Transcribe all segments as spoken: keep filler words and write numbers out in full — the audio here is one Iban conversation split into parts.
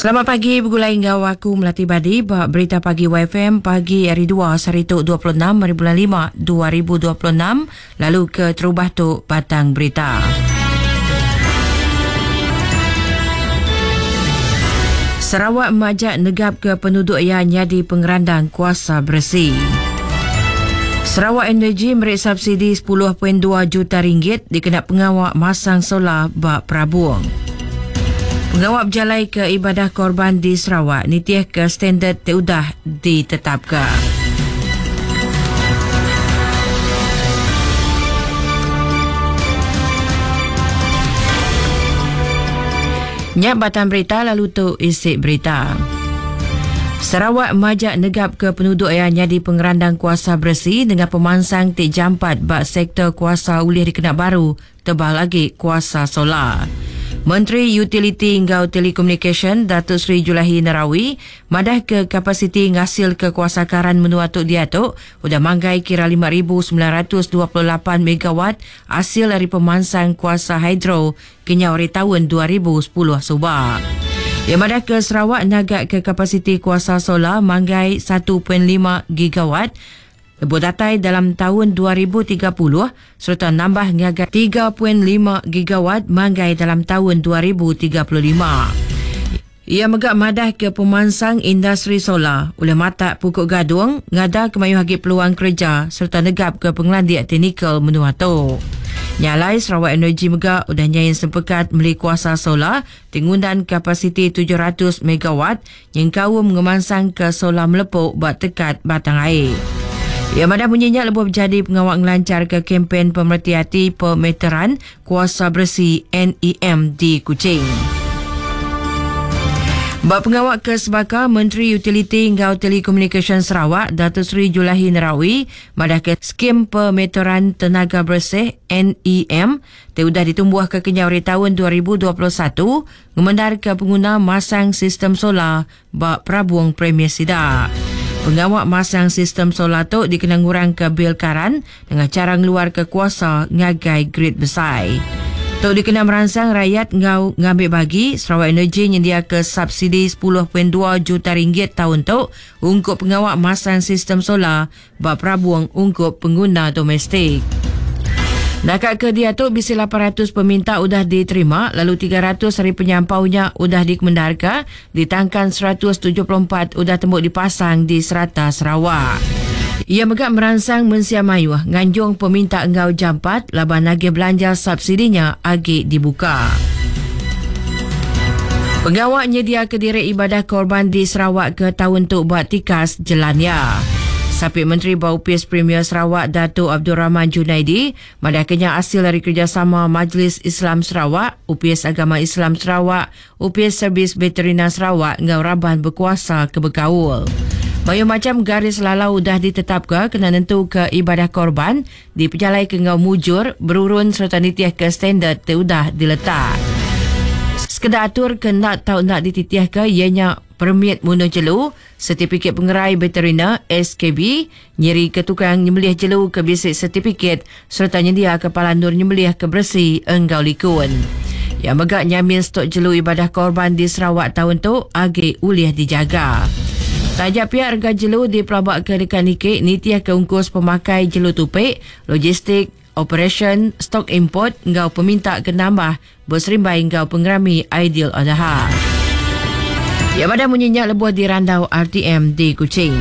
Selamat pagi bergulai enggau aku Melati Badi ba Berita Pagi Y F M pagi hari dua sehari tu dua puluh enam hari bulan lima dua ribu dua puluh enam, lalu ke terubah tu batang berita. Sarawak majak negap ke penduduk ia jadi pengerandang kuasa bersih. Sarawak Energy merik subsidi sepuluh perpuluhan dua juta ringgit dikena pengawak masang solar bak Perabung. Pengawak berjalai ke ibadah korban di Sarawak nitih ke standard teudah ditetapkan. Nyak batang berita lalu tu isi berita. Sarawak majak negap ke penduduk yang jadi pengerandang kuasa bersih dengan pemansang ti jampat bak sektor kuasa ulih dikena baru tebal lagi kuasa solar. Menteri Utiliti Enggau Telekomunikasi Datuk Seri Julaihi Narawi madah ke kapasiti ngasil ke kuasa karan menua tu diatu udah manggai kira lima ribu sembilan ratus dua puluh lapan megawatt hasil dari pemansang kuasa hidro kenyau hari tahun dua ribu sepuluh subak. Yang madah ke Sarawak nagak ke kapasiti kuasa solar manggai satu perpuluhan lima gigawatt lebuh datai dalam tahun dua ribu tiga puluh serta nambah ngagai tiga perpuluhan lima gigawatt manggai dalam tahun dua ribu tiga puluh lima. Ia megak madah ke pemansang industri solar oleh matak pukul gadung ngada kemayu hagi peluang kerja serta negap ke pengelandik teknikal menua tu. Nyalai Sarawak Energy megak udah nyain sempekat meli kuasa solar tingundan kapasiti tujuh ratus megawatt yang kaum ngemansang ke solar melepuk buat tekat batang air. Ia madah bunyinya lebuh berjadi pengawak ngelancar ke kempen pemerhati hati pemeteran kuasa bersih N E M di Kuching. Bak pengawak ke sebaka Menteri Utiliti Enggau Telekomunikasi Sarawak Datuk Seri Julaihi Narawi madah ke skim pemeteran tenaga bersih N E M te udah ditumbuh ke kenyau hari tahun dua ribu dua puluh satu ngemendar ke pengguna masang sistem solar bak Perabung Premier Sida. Pengawak masang sistem solar tu dikena ngurang ke bil karan dengan cara ngeluar ke kuasa ngagai grid besar. Tu dikena merangsang rakyat ngau ngambil bagi Sarawak Energy nyendia ke subsidi sepuluh perpuluhan dua juta ringgit tahun tu ungkup pengawak masang sistem solar bak Perabung ungkup pengguna domestik. Nakak ke dia tu bisi lapan ratus peminta udah diterima lalu tiga ratus hari penyampaunya udah dikemendarkan ditangkan seratus tujuh puluh empat udah tembuk dipasang di serata Sarawak. Ia megak merangsang mensia mayuh nganjung peminta enggau jampat laban lagi belanja subsidinya agi dibuka. Pengawak nyedia ke diri ibadah korban di Sarawak ke tahun tu buat tikas jelania. Sapit Menteri Baupis Premier Sarawak Datuk Abdul Rahman Junaidi madah kenya hasil dari kerjasama Majlis Islam Sarawak, U P S Agama Islam Sarawak, U P S Servis Veterina Sarawak ngau raban berkuasa ke Bekaul. Banyak macam garis lalau dah ditetapkan kena nentu ke ibadah korban dipejalai ke ngau mujur berurun serta nitiah ke standard teudah diletak. Sekedar atur ke nak tau nak dititiah ke ianya permit munuh jelu, sertifikat pengerai veterina S K B, nyeri ke tukang nyembelih jelu ke bisik sertifikat serta nyendia ke palandur nyembelih ke bersih enggau likun. Yang megak nyamin stok jelu ibadah korban di Sarawak tahun tu agi ulih dijaga. Tajak pihak harga jelu di pelabak ke dekat nikik nitiah ke ungkus pemakai jelu tupik, logistik, operation, stok import enggau peminta ke nambah berserimbai enggau pengerami Aidil Adha. Ya pada munyinya lebuh di randau R T M di Kuching.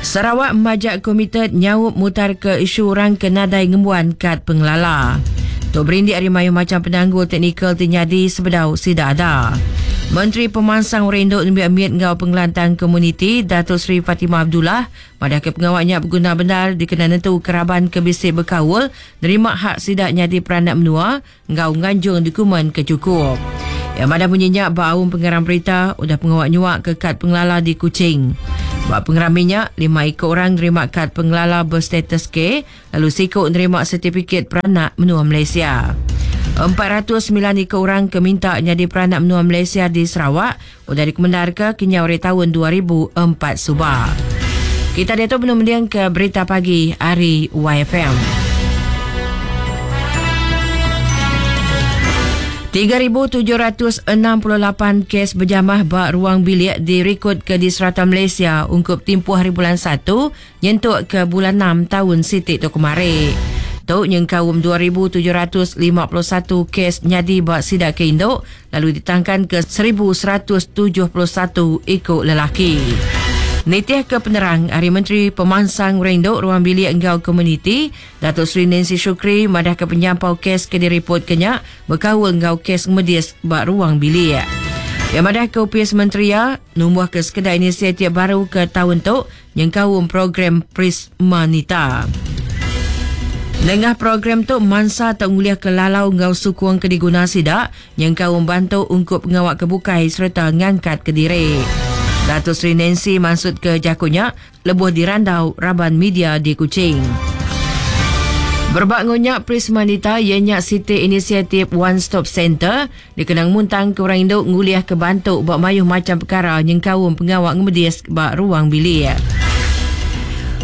Sarawak majak komited nyaup mutar ke isu orang ke nadai ngembuan kad pengelala. Tok berindik hari mayu macam penanggul teknikal terjadi sebedau sida ada. Menteri Pemansang Rendok Nembiak Miet Ngau Pengelantang Komuniti Datuk Seri Fatimah Abdullah pada ke pengawaknya berguna benar dikena nentu keraban kebisik berkawal nerima hak sidaknya di peranak menua ngau nganjung dokumen kecukup. Yang mana bunyinya baum pengarang berita udah pengawak nyuak ke kad pengelala di Kuching. Bak pengarang minyak, lima ekor orang nerima kad pengelala berstatus K, lalu sikok nerima sertifikat peranak menua Malaysia. empat ratus sembilan ekor orang keminta jadi peranak menua Malaysia di Sarawak udah dikemenar ke kenyau hari tahun dua ribu empat subah. Kita dia tu belum mendiang ke berita pagi hari Y F M. tiga ribu tujuh ratus enam puluh lapan kes berjamah ba ruang bilik direkod ke di serata Malaysia ungkup tempoh hari bulan satu nyentuk ke bulan enam tahun sitik tu kemari. Tu nyengkaum dua ribu tujuh ratus lima puluh satu kes nyadi ba sidak ke induk lalu ditangkan ke seribu seratus tujuh puluh satu ikut lelaki. Nitih ke penerang Hari Menteri Pemansang Rendok Ruang Bilik Enggau Komuniti, Datuk Seri Nancy Shukri madah ke penyampau kes ke diripot kenya berkaul enggau kes medis ba ruang bilik. Yang madah ke Upis Menteri ya, numbuh ke sekedar inisiatif baru ke tahun tu nyengkaum program Prismanita. Nengah program tu mansa tak nguliah ke lalau ngau sukung ke diguna sidak nyengkaum bantu ungkup pengawak kebukai serta ngangkat ke diri. Datuk Seri Nancy maksud ke jakunya lebuh dirandau raban media di Kuching. Berbak ngonyak Prismanita ianya siti inisiatif One Stop Center dikenang muntang ke orang induk nguliah ke bantu bak mayuh macam perkara nyengkaum pengawak ngemedis bak ruang bilik.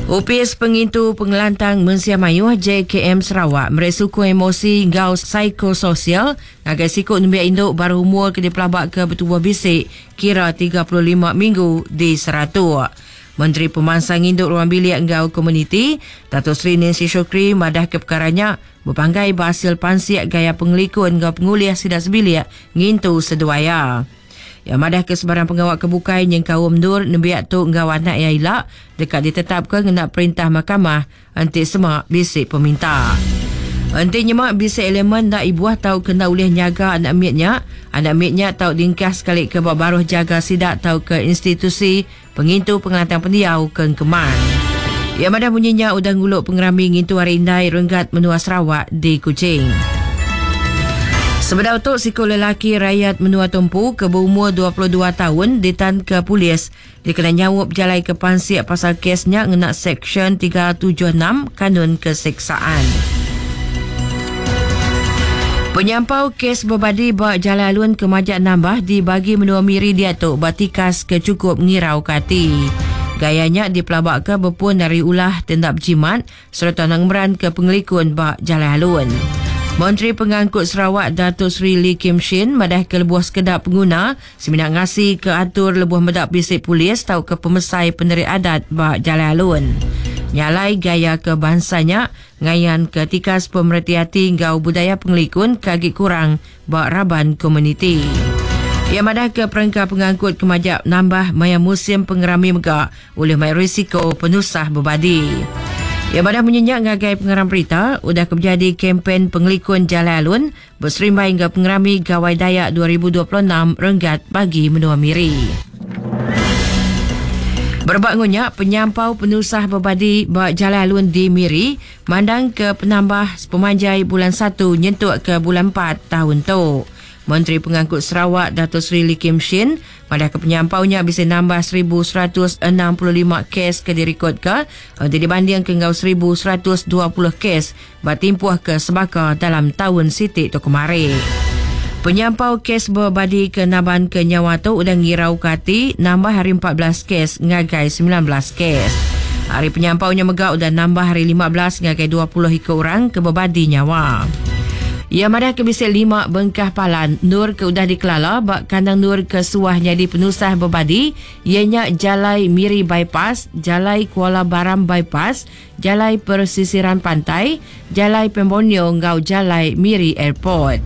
Upis Pengintu Pengelantang Mensia Mayuh J K M Sarawak meresuku emosi ngau psikososial ngagai sikut nembiak induk baru umur ke dipelabak ke bertubuh bisik kira tiga puluh lima minggu di Seratuk. Menteri Pemansang Induk Ruang Bilik Enggau Komuniti, Datuk Seri Nancy Shukri madah ke perkaranya berpanggai berhasil pansiak gaya pengelikun enggau penguliah sidak sebilik ngintu seduaya. Yang madah ke sebarang pengawak kebukai nyengkaum nur nembiak tu enggau anak yang ilak dekat ditetapkan ngena perintah mahkamah anti semak bisik peminta. Enti nyemak bisik elemen nak ibuah tau kena ulih nyaga anak mietnya, anak mietnya tau dingkah sekali ke bawah baruh jaga sidak tau ke institusi pengintu pengelantang pendiau ke Kemang. Yang madah bunyinya udah nguluk pengerami ngintu hari indai renggat menua Sarawak di Kuching. Sebedau tu siku lelaki rakyat menua Tumpu ke berumur dua puluh dua tahun ditan ke polis dikena nyawup jalai ke pansiak pasal kesnya ngena Seksyen tiga tujuh enam Kanun Keseksaan. Penyampau kes berbadi ba jalan alun kemajak nambah dibagi menua Miri diatu ba tikas ke cukup ngirau kati. Gayanya dipelabak ke berpun dari ulah tindak berjimat serta nangmeran ke pengelikun ba jalan alun. Menteri Pengangkut Sarawak Datuk Seri Lee Kim Shin madah ke lebuh sekedap pengguna seminak ngasi ke atur lebuh medak bisik polis tau ke pemesai penerik adat ba jalan alun. Nyalai gaya ke bangsanya ngayan ke tikas pemerhati hati ngau budaya pengelikun kagi kurang ba raban komuniti. Ia madah ke perengka pengangkut kemajak nambah maya musim pengerami megak oleh mai risiko penusah berbadi. Ia madah menyenyak ngagai pengeram berita udah kejadi kempen pengelikun jalan alun berserimbai hingga pengerami Gawai Dayak dua ribu dua puluh enam renggat bagi menua Miri. Berbak ngunyak penyampau penusah berbadi ba jalan alun di Miri mandang ke penambah sepemanjai bulan satu nyentuk ke bulan empat tahun tu. Menteri Pengangkut Sarawak Datuk Seri Lee Kim Shin pada kepenyampaunya bisa nambah seribu seratus enam puluh lima kes ke direkod ke untuk dibanding ke ngau seribu seratus dua puluh kes bertimpuh ke sebaka dalam tahun sitik tu kemarin. Penyampau kes berbadi ke naban ke nyawa tu udah ngirau kati nambah hari empat belas kes ngagai sembilan belas kes. Hari penyampaunya megak udah nambah hari lima belas ngagai dua puluh ikut orang ke berbadi nyawa. Ia madah ke bisik lima bengkah palan nur ke udah dikelala bak kandang nur ke suah jadi penusah berbadi ianya Jalai Miri Bypass, Jalai Kuala Baram Bypass, Jalai Persisiran Pantai, Jalai Pembonio ngau Jalai Miri Airport.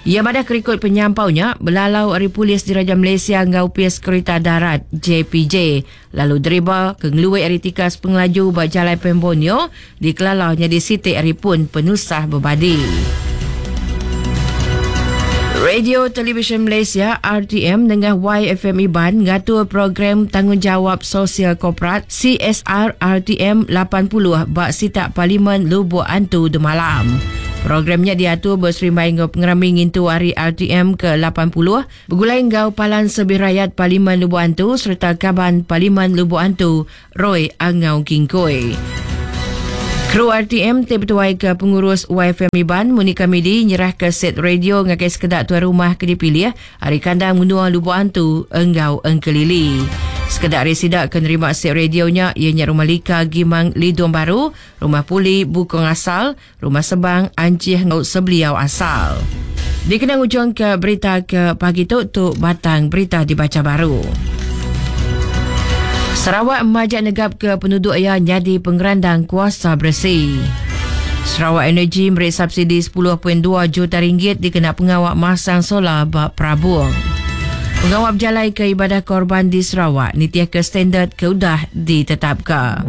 Ia madah kerikut penyampaunya belalau ari polis Diraja Malaysia ngau pias kereta darat J P J lalu deriba ke ngeluai ari tikas pengelaju ba Jalai Pembonio dikelala jadi sitik ari pun penusah berbadi. Radio Televisyen Malaysia R T M dengan Y F M Iban ngatur program tanggungjawab sosial korporat C S R R T M lapan puluh bak sitak Parlimen Lubuk Antu Demalam. Programnya diatur berserimbai dengan pengerami ngintu hari R T M ke lapan puluh bergulai ngau Palan Sebih Rakyat Parlimen Lubuk Antu serta Kaban Parlimen Lubuk Antu Roy Angau Kingkoi. Kru R T M terbetuai ke pengurus Y F M Iban Monica Midi nyerah ke set radio ngagai sekedak tuan rumah ke dipilih hari kandang menua Lubuk Antu Enggau Engkelili. Sekedak residak ke nerima set radionya ianya Rumah Lika Gimang Lidung Baru, Rumah Puli Bukong Asal, Rumah Sebang Ancih Ngau Sebeliau Asal. Dikena ujung ke berita ke pagi tu, tu batang berita dibaca baru. Sarawak majak negap ke penduduk ia jadi pengerandang kuasa bersih. Sarawak Energy beri subsidi sepuluh perpuluhan dua juta ringgit dikena pengawak masang solar bak Prabung. Pengawak berjalai ke ibadah korban di Sarawak nitiah ke standard ke udah ditetapkan.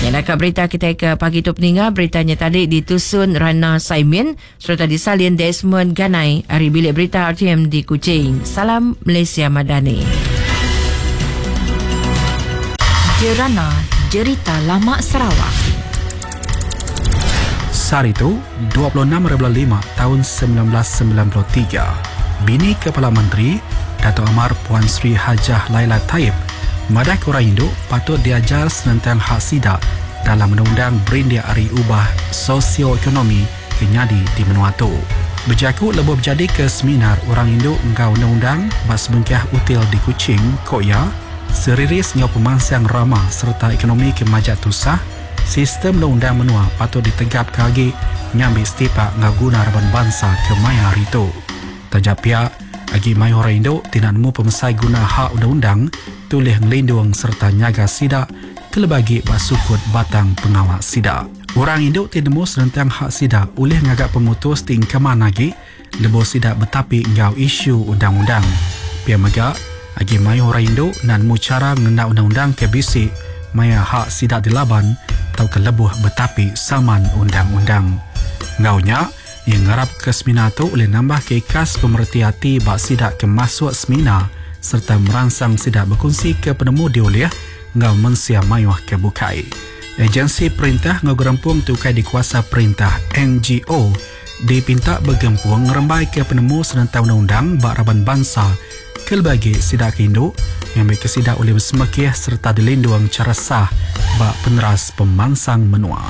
Yang nak berita kita ke pagi tu peninga, beritanya tadi ditusun Rana Saimin serta disalin Desmond Ganai dari Bilik Berita R T M di Kuching. Salam Malaysia Madani. Jerana Jerita Lama Sarawak. Sehari itu, dua puluh enam bulan lima tahun sembilan belas sembilan puluh tiga, bini Kepala Menteri Dato' Amar Puan Sri Hajah Laila Taib madah ke orang induk patut diajar senentang hak sidak dalam undang-undang berindia ari ubah sosioekonomi kenyadi di menua tu. Berjaku lebuh berjadi ke seminar orang induk engkau undang-undang bas bengkah util di Kuching, Koya, seriris ngau pemansang ramah serta ekonomi kemajak tusah, sistem undang-undang menua patut ditegap kagi ngambil setipak ngau guna raban bangsa ke maya hari tu. Tajak pihak agi mayu orang induk tidak nemu pemesai guna hak undang-undang tulih ngelindung serta nyaga sidak kelebagi basukut batang pengawak sidak. Orang induk tidak nemu senentang hak sidak oleh ngagak pemutus tingkaman lagi lebuh sidak betapi ngau isu undang-undang. Pihak megak agi mayu orang induk nan nemu cara ngena undang-undang ke bisi maya hak sidak dilaban atau kelebuh betapi saman undang-undang. Ngaunya yang ngarap ke semina tu boleh nambah ke ikas pemerhati hati bak sidak ke masuk semina serta merangsang sidak berkongsi ke penemu dioleh ngau mensia mayuh ke bukai. Agensi perintah ngau gerempung tukai dikuasa perintah N G O dipinta bergempung ngerembai ke penemu senentang undang-undang bak raban bangsa kelbagi sidak ke induk yang mereka sidak oleh bersemekih serta dilindung cara sah bak peneras pemansang menua.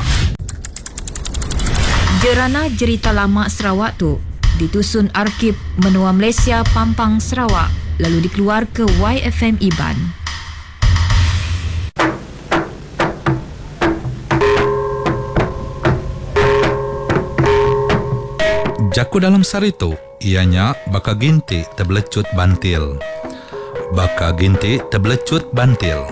Jerana Jerita Lama Sarawak tu ditusun Arkib Menua Malaysia Pampang Sarawak lalu dikeluar ke Y F M Iban. Jaku dalam sari tu ianya baka ginti terbelecut bantil. Baka ginti terbelecut bantil.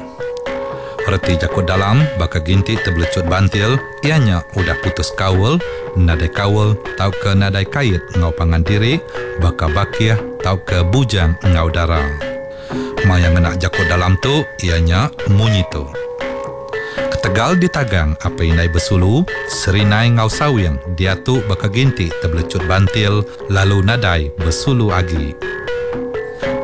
Reti jaku dalam baka ginti terbelecut bantil ianya udah putus kaul, nadai kaul tau ke nadai kait ngau pangan diri, baka bakih tau ke bujang ngau dara. Maya ngena jaku dalam tu ianya munyi tu. Ketegal ditagang apa inai besulu, serinai ngau sawing dia tu baka ginti terbelecut bantil lalu nadai besulu agi.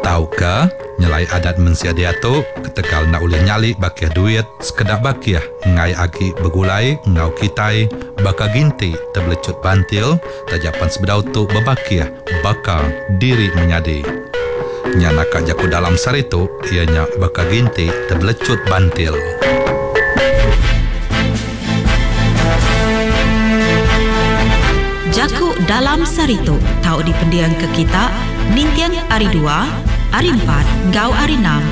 Tau ke nyelai adat mensia dia tu ketegal nak ulih nyali bakih duit sekedak bakih ngai agi begulai ngau kitai baka ginti terbelecut bantil tajapan sebedau tu bebakih baka diri menyadi. Nyana kak jaku dalam sari tu ianya baka ginti terbelecut bantil. Jaku dalam sari tu tau dipendiang ke kita nintiang ari dua, ari empat, gau ari enam.